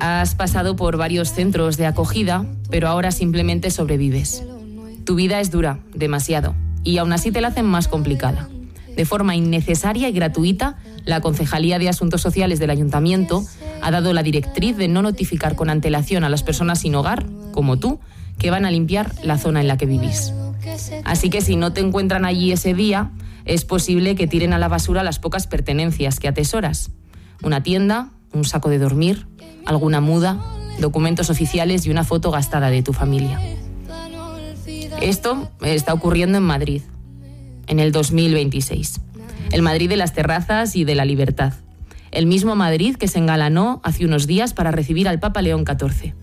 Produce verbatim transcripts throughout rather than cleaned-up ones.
Has pasado por varios centros de acogida, pero ahora simplemente sobrevives. Tu vida es dura, demasiado, y aún así te la hacen más complicada. De forma innecesaria y gratuita, la Concejalía de Asuntos Sociales del Ayuntamiento ha dado la directriz de no notificar con antelación a las personas sin hogar, como tú, que van a limpiar la zona en la que vivís. Así que si no te encuentran allí ese día, es posible que tiren a la basura las pocas pertenencias que atesoras. Una tienda, un saco de dormir, alguna muda, documentos oficiales y una foto gastada de tu familia. Esto está ocurriendo en Madrid, en el dos mil veintiséis. El Madrid de las terrazas y de la libertad. El mismo Madrid que se engalanó hace unos días para recibir al Papa León catorce.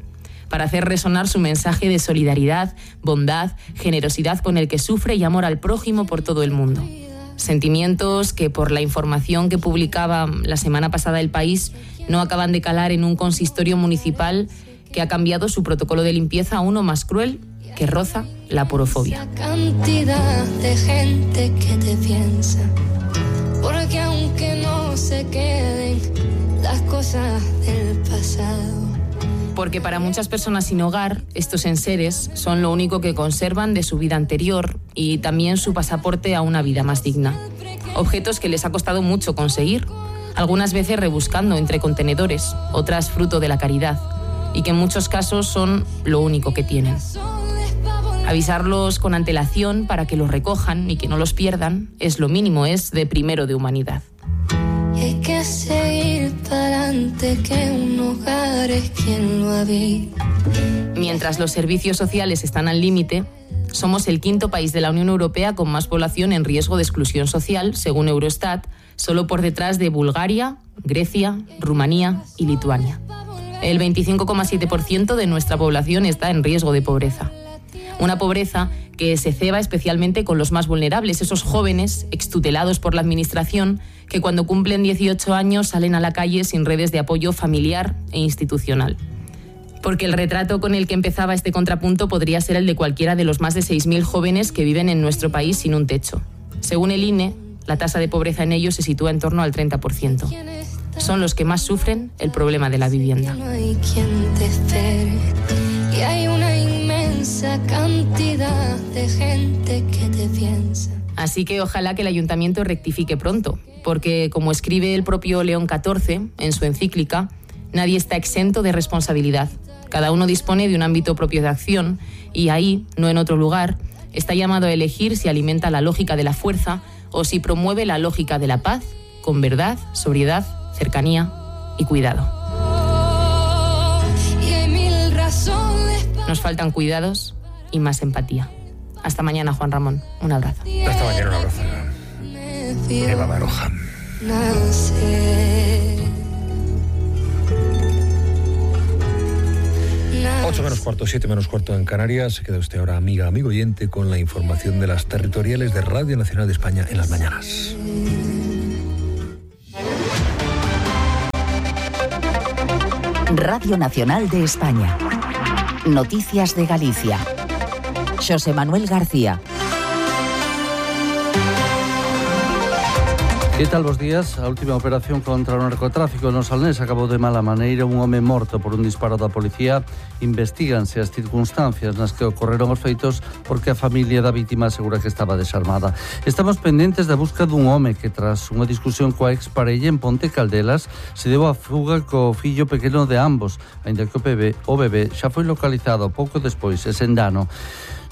Para hacer resonar su mensaje de solidaridad, bondad, generosidad con el que sufre y amor al prójimo por todo el mundo. Sentimientos que, por la información que publicaba la semana pasada El País, no acaban de calar en un consistorio municipal que ha cambiado su protocolo de limpieza a uno más cruel que roza la porofobia. Cantidad de gente que te piensa, porque aunque no se queden las cosas del pasado. Porque para muchas personas sin hogar, estos enseres son lo único que conservan de su vida anterior y también su pasaporte a una vida más digna. Objetos que les ha costado mucho conseguir, algunas veces rebuscando entre contenedores, otras fruto de la caridad, y que en muchos casos son lo único que tienen. Avisarlos con antelación para que los recojan y que no los pierdan es lo mínimo, es de primero de humanidad. Y hay que seguir para adelante, que un hogar es quien lo habita. Mientras los servicios sociales están al límite, somos el quinto país de la Unión Europea con más población en riesgo de exclusión social, según Eurostat, solo por detrás de Bulgaria, Grecia, Rumanía y Lituania. El veinticinco coma siete por ciento de nuestra población está en riesgo de pobreza. Una pobreza que se ceba especialmente con los más vulnerables, esos jóvenes extutelados por la administración que cuando cumplen dieciocho años salen a la calle sin redes de apoyo familiar e institucional. Porque el retrato con el que empezaba este contrapunto podría ser el de cualquiera de los más de seis mil jóvenes que viven en nuestro país sin un techo. Según el I N E, la tasa de pobreza en ellos se sitúa en torno al treinta por ciento. Son los que más sufren el problema de la vivienda. No hay quien te espere, y hay una inmensa cantidad de gente que te piensa. Así que ojalá que el ayuntamiento rectifique pronto, porque como escribe el propio León catorce en su encíclica, nadie está exento de responsabilidad. Cada uno dispone de un ámbito propio de acción y ahí, no en otro lugar, está llamado a elegir si alimenta la lógica de la fuerza o si promueve la lógica de la paz, con verdad, sobriedad, cercanía y cuidado. Nos faltan cuidados y más empatía. Hasta mañana, Juan Ramón. Un abrazo. Hasta mañana, un abrazo. Eva Baroja. ocho menos cuarto, siete menos cuarto en Canarias. Se queda usted ahora, amiga, amigo oyente, con la información de las territoriales de Radio Nacional de España en las mañanas. Radio Nacional de España. Noticias de Galicia. Xosé Manuel García. Que tal, bos días? A última operación contra o narcotráfico no Salnés acabou de mala maneira. Un home morto por un disparo da policía. Investíganse as circunstancias nas que ocorreron os feitos, porque a familia da vítima asegura que estaba desarmada. Estamos pendentes da busca dun home que, tras unha discusión coa exparella en Ponte Caldelas, se deu a fuga co fillo pequeno de ambos, aínda que o bebé, o bebé xa foi localizado pouco despois e sen dano.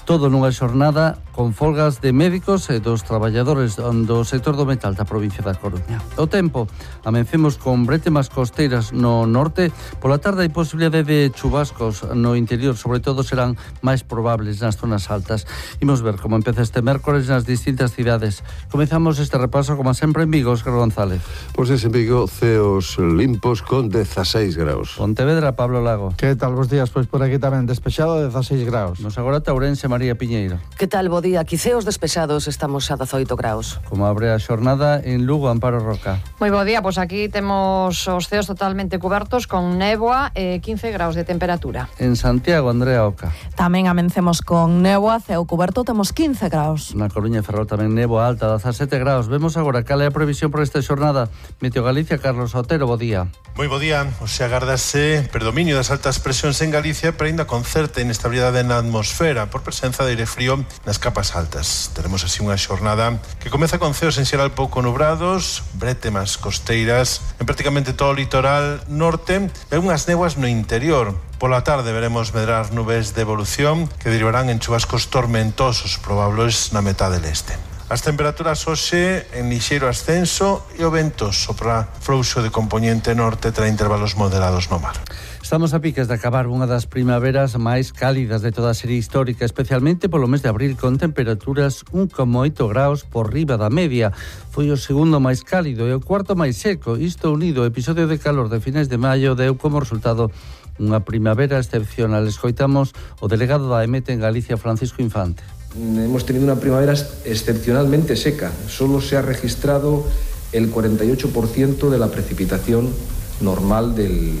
Todo nunha xornada con folgas de médicos e dos traballadores do sector do metal da provincia da Coruña. O tempo, amencemos con bretemas costeiras no norte. Pola tarde hai posibilidade de chubascos no interior, sobre todo serán máis probables nas zonas altas. Imos ver como empeza este mércores nas distintas cidades. Comezamos este repaso, como sempre, en Vigo, Óscar González. Pois pues en Vigo, ceos limpos con dezaseis graus. Pontevedra, Pablo Lago. Que tal, bos días? Pois por aquí tamén despexado, dezaseis graus. Nos agora Taurense, María Piñeiro. Que tal, bo día? Aquí ceos despexados, estamos a dezoito graus. Como abre a xornada en Lugo, Amparo Roca. Moi bo día, pois aquí temos os ceos totalmente cubertos con néboa e quince graus de temperatura. En Santiago, Andrea Oca. Tamén amencemos con néboa, ceo cuberto, temos quince graus. Na Coruña e Ferrol tamén néboa alta, dezasete graus. Vemos agora cal é a previsión por esta xornada. Meteo Galicia, Carlos Otero, bo día. Moi bo día, o se agardase predominio das altas presións en Galicia, pero ainda con certa inestabilidade na atmosfera por presenza de aire frío nas capas altas. Teremos así unha xornada que comeza con ceos en xeral pouco nubrados, brétemas costeiras en prácticamente todo o litoral norte e unhas néboas no interior. Pola tarde veremos medrar nubes de evolución que derivarán en chubascos tormentosos probables na metade leste. As temperaturas hoxe en lixeiro ascenso e o vento sopra frouxo de compoñente norte tra intervalos moderados no mar. Estamos a piques de acabar unha das primaveras máis cálidas de toda a serie histórica, especialmente polo mes de abril, con temperaturas un coma oito graus por riba da media. Foi o segundo máis cálido e o cuarto máis seco. Isto unido ao episodio de calor de finais de maio deu como resultado unha primavera excepcional. Escoitamos o delegado da E M E T en Galicia, Francisco Infante. Hemos tenido una primavera excepcionalmente seca. Solo se ha registrado el cuarenta y ocho por ciento de la precipitación normal del,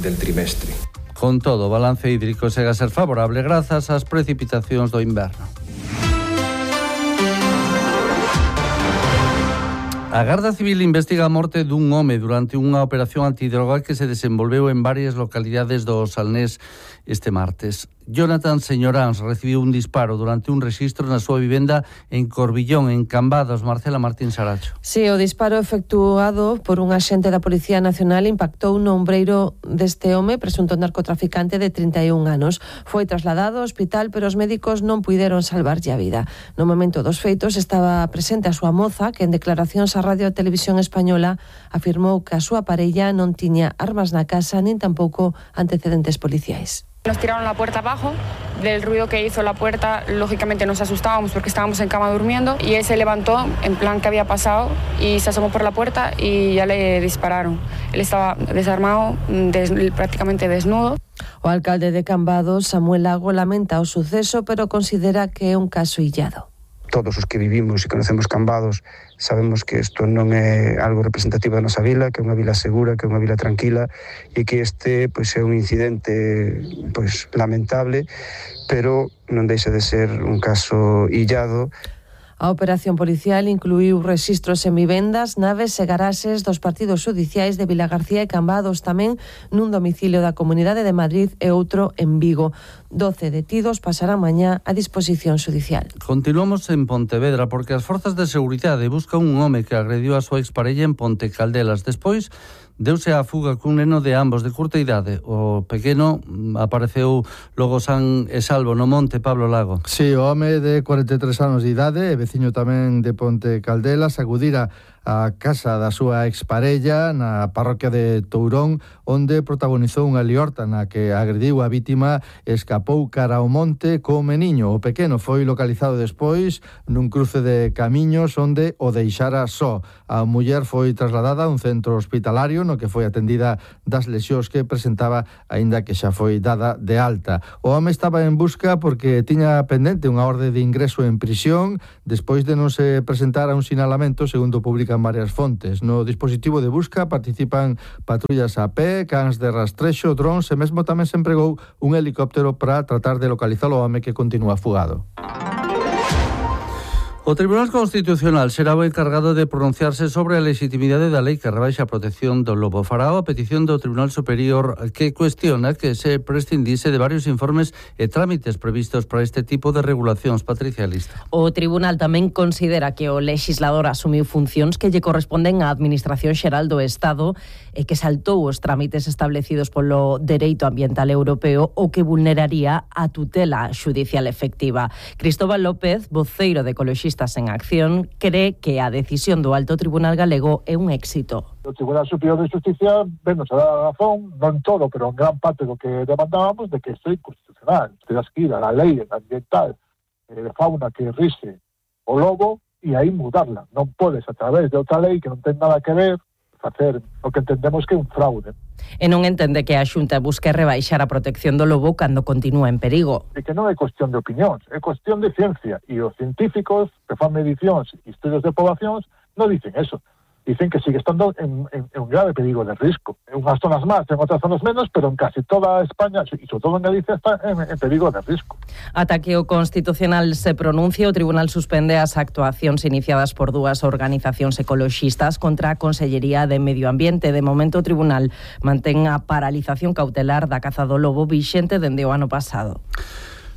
del trimestre. Con todo, o balance hídrico segue a ser favorable grazas ás precipitacións do inverno. A Garda Civil investiga a morte dun home durante unha operación antidroga que se desenvolveu en varias localidades do Salnés este martes. Jonathan Señoráns recibiu un disparo durante un rexistro na súa vivenda en Corbillón, en Cambados. Marcela Martín Saracho. Sí, o disparo efectuado por un axente da Policía Nacional impactou no ombreiro deste home, presunto narcotraficante de trinta e un anos. Foi trasladado ao hospital, pero os médicos non puideron salvarlle a vida. No momento dos feitos estaba presente a súa moza, que en declaracións á Radio e Televisión Española afirmou que a súa parella non tiña armas na casa nin tampouco antecedentes policiais. Nos tiraron la puerta abajo, del ruido que hizo la puerta, lógicamente nos asustábamos porque estábamos en cama durmiendo y él se levantó en plan que había pasado y se asomó por la puerta y ya le dispararon. Él estaba desarmado, des, prácticamente desnudo. O alcalde de Cambados, Samuel Lago, lamenta o suceso, pero considera que é un caso illado. Todos os que vivimos e conocemos Cambados sabemos que isto non é algo representativo da nosa vila, que é unha vila segura, que é unha vila tranquila e que este pois, é un incidente pois, lamentable, pero non deixa de ser un caso illado. A operación policial incluíu rexistros en vivendas, naves e garaxes dos partidos xudiciais de Vilagarcía e Cambados, tamén nun domicilio da Comunidade de Madrid e outro en Vigo. doce detidos pasarán mañá a disposición xudicial. Continuamos en Pontevedra porque as forzas de seguridade buscan un home que agrediu a súa exparella en Ponte Caldelas. Despois deuse a fuga cun neno de ambos de curta idade. O pequeno apareceu logo san e salvo no monte, Pablo Lago. Sí, o home de cuarenta e tres anos de idade, e veciño tamén de Ponte Caldelas, acudira a casa da súa exparella na parroquia de Tourón, onde protagonizou unha liorta na que agrediu a vítima e escapou cara ao monte co meniño. O pequeno foi localizado despois nun cruce de camiños onde o deixara só. A muller foi trasladada a un centro hospitalario no que foi atendida das lesións que presentaba, aínda que xa foi dada de alta. O home estaba en busca porque tiña pendente unha orde de ingreso en prisión despois de non se presentar a un sinalamento, segundo publican varias fontes. No dispositivo de busca participan patrullas a pé, cans de rastrexo, drons e mesmo tamén se empregou un helicóptero para tratar de localizar o home que continúa fugado. O Tribunal Constitucional será o encargado de pronunciarse sobre a legitimidade da lei que rebaixa a protección do lobo. Fará a petición do Tribunal Superior que cuestiona que se prescindise de varios informes e trámites previstos para este tipo de regulacións. Patricia Lista. O Tribunal tamén considera que o legislador asumiu funcións que lle corresponden á Administración Xeral do Estado e que saltou os trámites establecidos polo Dereito Ambiental Europeo o que vulneraría a tutela xudicial efectiva. Cristóbal López, voceiro de Ecoloxistas en Acción, cree que a decisión do Alto Tribunal Galego é un éxito. O Tribunal Superior de Justicia venos a dar a razón, non todo, pero en gran parte do que demandábamos, de que isto é inconstitucional. Terás que ir a la lei ambiental eh, de fauna que rise o lobo e aí mudarla. Non podes, a través de outra lei que non ten nada que ver, facer o que entendemos que é un fraude. E non entende que a Xunta busque rebaixar a protección do lobo cando continúa en perigo. E que non é cuestión de opinións, é cuestión de ciencia. E os científicos que fan medicións e estudios de poblacións non dicen eso. Dicen que sigue estando en, en, en un grave perigo de risco. En unhas zonas máis, en outras zonas menos, pero en casi toda España, e sobre todo en Galicia, está en, en perigo de risco. Ata que o Constitucional se pronuncie, o Tribunal suspende as actuacións iniciadas por dúas organizacións ecoloxistas contra a Consellería de Medio Ambiente. De momento, o Tribunal mantén a paralización cautelar da caza do lobo vixente dende o ano pasado.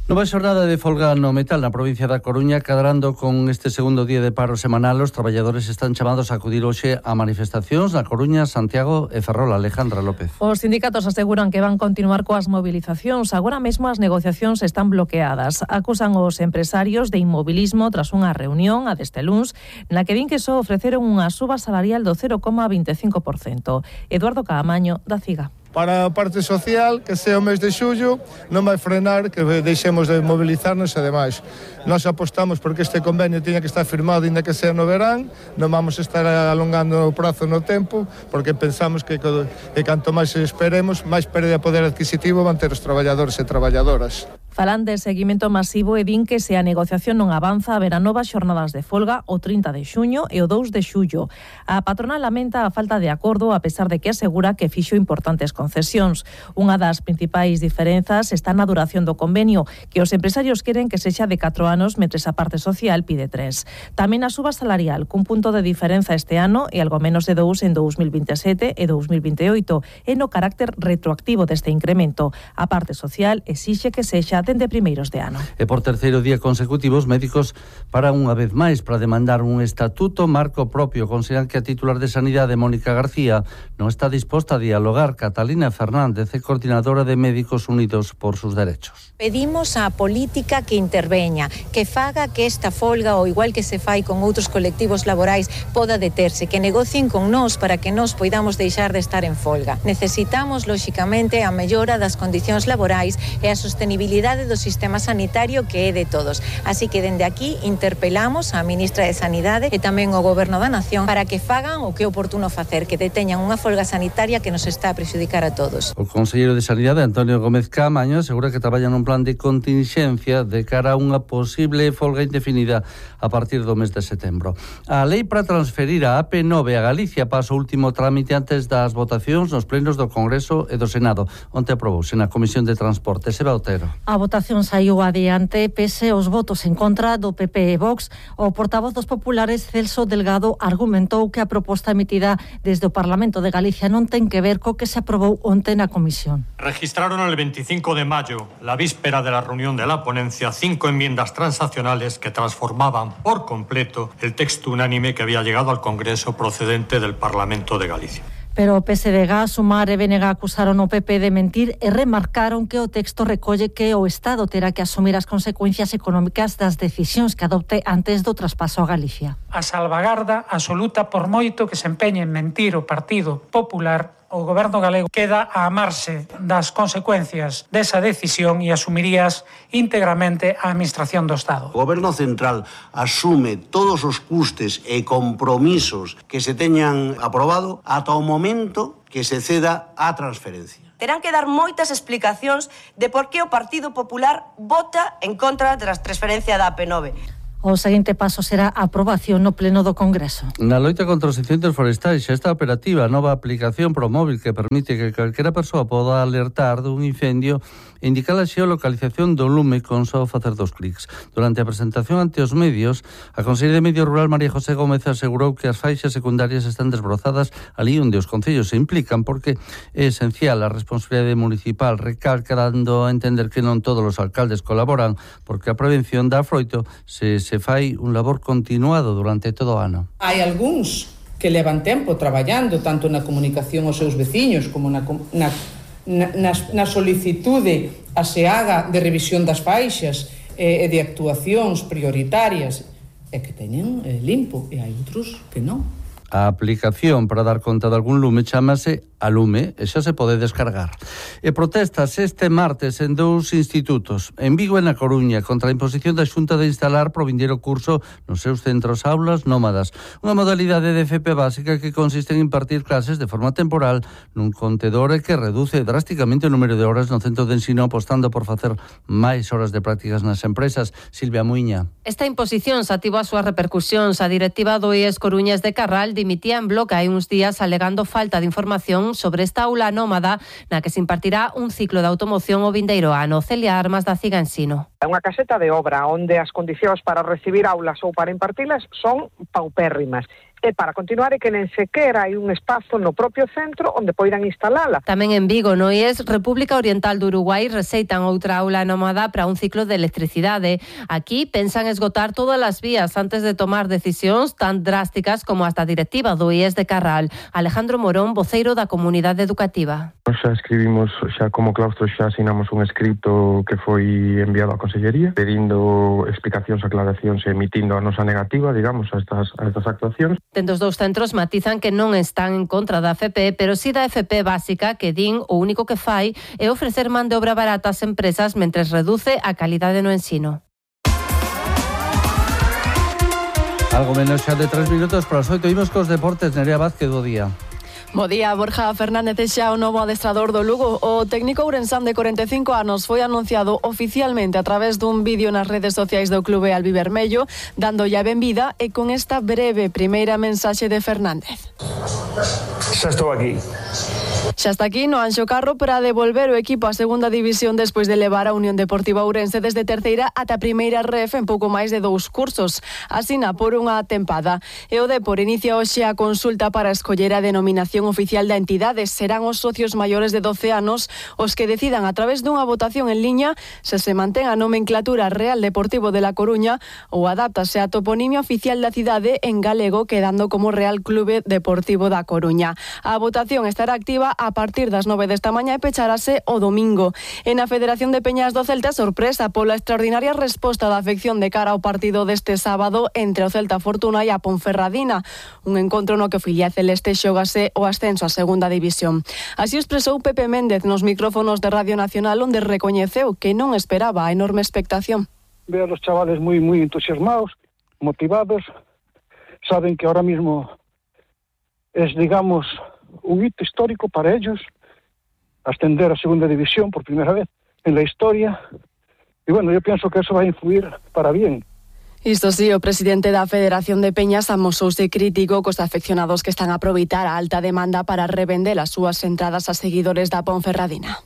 Nova xornada de folga no metal na provincia da Coruña, cadrando con este segundo día de paro semanal. Os traballadores están chamados a acudir hoxe a manifestacións na Coruña, Santiago e Ferrol. Alejandra López. Os sindicatos aseguran que van continuar coas movilizacións. Agora mesmo as negociacións están bloqueadas. Acusan os empresarios de inmobilismo tras unha reunión a deste luns na que din que só ofreceron unha suba salarial do cero coma veinticinco por cento. Eduardo Caamaño, da CIGA. Para a parte social, que sea o mes de xullo, non vai frenar que deixemos de mobilizarnos e demais. Nós apostamos porque este convenio tiña que estar firmado ainda que sea no verán, non vamos estar alongando o prazo no tempo, porque pensamos que, que canto máis esperemos, máis pérdida de poder adquisitivo van ter os traballadores e traballadoras. Falan de seguimento masivo e din que se a negociación non avanza haberá novas xornadas de folga o trinta de xuño e o dous de xullo. A patronal lamenta a falta de acordo a pesar de que asegura que fixo importantes concesións. Unha das principais diferenzas está na duración do convenio, que os empresarios queren que sexa de catro anos, mentres a parte social pide tres. Tamén a suba salarial, cun punto de diferenza este ano e algo menos de dous en dous mil veintisiete e dous mil veintioito, e no carácter retroactivo deste incremento. A parte social exixe que sexa dende primeiros de ano. E por terceiro día consecutivo, os médicos paran unha vez máis para demandar un estatuto marco propio. Consideran que a titular de Sanidade, Mónica García, non está disposta a dialogar. Catalina Fernández é coordinadora de Médicos Unidos por sus Derechos. Pedimos á política que interveña, que faga que esta folga, ou igual que se fai con outros colectivos laborais, poda deterse, que negocien con nós para que nós poidamos deixar de estar en folga. Necesitamos, lóxicamente, a mellora das condicións laborais e a sostenibilidade do sistema sanitario que é de todos. Así que dende aquí interpelamos á ministra de Sanidade e tamén ao Goberno da Nación para que fagan o que é oportuno facer, que deteñan unha folga sanitaria que nos está a prexudicar a todos. O conselleiro de Sanidade, Antonio Gómez Caamaño, asegura que traballan nun plan de contingencia de cara a unha posible folga indefinida a partir do mes de setembro. A lei para transferir a A P nove a Galicia pasa o último trámite antes das votacións nos plenos do Congreso e do Senado. Onte aprobouse na Comisión de Transporte. Seba Otero. A votación saiu adiante pese aos votos en contra do P P e Vox. O portavoz dos populares, Celso Delgado, argumentou que a proposta emitida desde o Parlamento de Galicia non ten que ver co que se aprobou onte na comisión. Registraron el veinticinco de mayo, la víspera de la reunión de la ponencia, cinco enmiendas transaccionales que transformaban por completo el texto unánime que había llegado al Congreso procedente del Parlamento de Galicia. Pero o P S D G, Sumar e B N G acusaron o P P de mentir e remarcaron que o texto recolle que o Estado terá que asumir as consecuencias económicas das decisións que adopte antes do traspaso a Galicia. A salvagarda absoluta, por moito que se empeñe en mentir o Partido Popular, o Goberno galego queda a amarse das consecuencias desa decisión e asumirías íntegramente a Administración do Estado. O Goberno Central asume todos os custes e compromisos que se teñan aprobado ata o momento que se ceda a transferencia. Terán que dar moitas explicacións de por que o Partido Popular vota en contra da transferencia da A P nove. O seguinte paso será a aprobación no pleno do Congreso. Na loita contra os incendios forestais xa está operativa a nova aplicación ProMóvil que permite que calquera persoa poda alertar dun incendio e indicar a xeolocalización do lume con só facer dos clics. Durante a presentación ante os medios, a conselleira de Medio Rural María José Gómez asegurou que as faixas secundarias están desbrozadas ali onde os concellos se implican porque é esencial a responsabilidade municipal, recalcando a entender que non todos os alcaldes colaboran porque a prevención dá froito se se fai un labor continuado durante todo o ano. Hai algúns que levan tempo traballando tanto na comunicación aos seus veciños como na, na, na, na solicitude a se haga de revisión das faixas e, e de actuacións prioritarias e que teñen eh, limpo e hai outros que non. A aplicación para dar conta de algún lume chamase Alume e xa se pode descargar. E protestas este martes en dous institutos, en Vigo e na Coruña, contra a imposición da Xunta de instalar pro vindeiro curso nos seus centros aulas nómadas. Unha modalidade de F P básica que consiste en impartir clases de forma temporal nun contedor e que reduce drásticamente o número de horas no centro de ensino, apostando por facer máis horas de prácticas nas empresas. Silvia Muiña. Esta imposición sativa as súas repercusións. A directiva do I E S Coruñas de Carral dimitía en bloque hai uns días alegando falta de información sobre esta aula nómada na que se impartirá un ciclo de automoción o vindeiro ano. Celia Armas da Ciga Ensino. É unha caseta de obra onde as condicións para recibir aulas ou para impartilas son paupérrimas. E para continuar é que nen sequera hai un espazo no propio centro onde poidan instalala. Tamén en Vigo, no I E S República Oriental do Uruguai, receitan outra aula nómada para un ciclo de electricidade. Aquí pensan esgotar todas as vías antes de tomar decisións tan drásticas como as da directiva do I E S de Carral. Alejandro Morón, voceiro da comunidade educativa. Nos xa escribimos, xa como claustro xa asinamos un escrito que foi enviado á Consellería pedindo explicacións, aclaracións e emitindo a nosa negativa, digamos, a estas, a estas actuacións. Dentro dos dous centros matizan que non están en contra da F P, pero si da F P básica, que din o único que fai é ofrecer man de obra barata ás empresas mentres reduce a calidade no ensino. Algo menos xa de tres minutos para as oito. Imos cos deportes. Nerea Vázquez, do día. Bo día, Borja Fernández é xa o novo adestrador do Lugo. O técnico ourensán de corenta e cinco anos foi anunciado oficialmente a través dun vídeo nas redes sociais do clube albivermello, dándolle a benvida e con esta breve primeira mensaxe de Fernández. Xa estou aquí. Xa está aquí no Anxo Carro para devolver o equipo á segunda división despois de levar a Unión Deportiva Ourense desde terceira ata primeira ref en pouco máis de dous cursos. Asina por unha tempada. E o Depor inicia hoxe a consulta para escoller a denominación oficial da entidade. Serán os socios maiores de doce anos os que decidan a través dunha votación en liña se se mantén a nomenclatura Real Deportivo de La Coruña ou adáptase a toponimia oficial da cidade en galego, quedando como Real Clube Deportivo da Coruña. A votación estará activa a partir das nove desta mañá e pecharase o domingo. En a Federación de Peñas do Celta, sorpresa pola extraordinaria resposta da afección de cara ao partido deste sábado entre o Celta Fortuna e a Ponferradina, un encontro no que o filial celeste xógase o ascenso á segunda división. Así expresou Pepe Méndez nos micrófonos de Radio Nacional, onde recoñeceu que non esperaba a enorme expectación. Veo a los chavales moi moi entusiasmados, motivados, saben que ahora mismo es, digamos, un hito histórico para ellos, ascender a segunda división por primera vez en la historia. Y bueno, yo pienso que eso va a influir para bien. Isto sí, o presidente da Federación de Peñas amosouse crítico cos afeccionados que están a aproveitar a alta demanda para revender as súas entradas a seguidores da Ponferradina.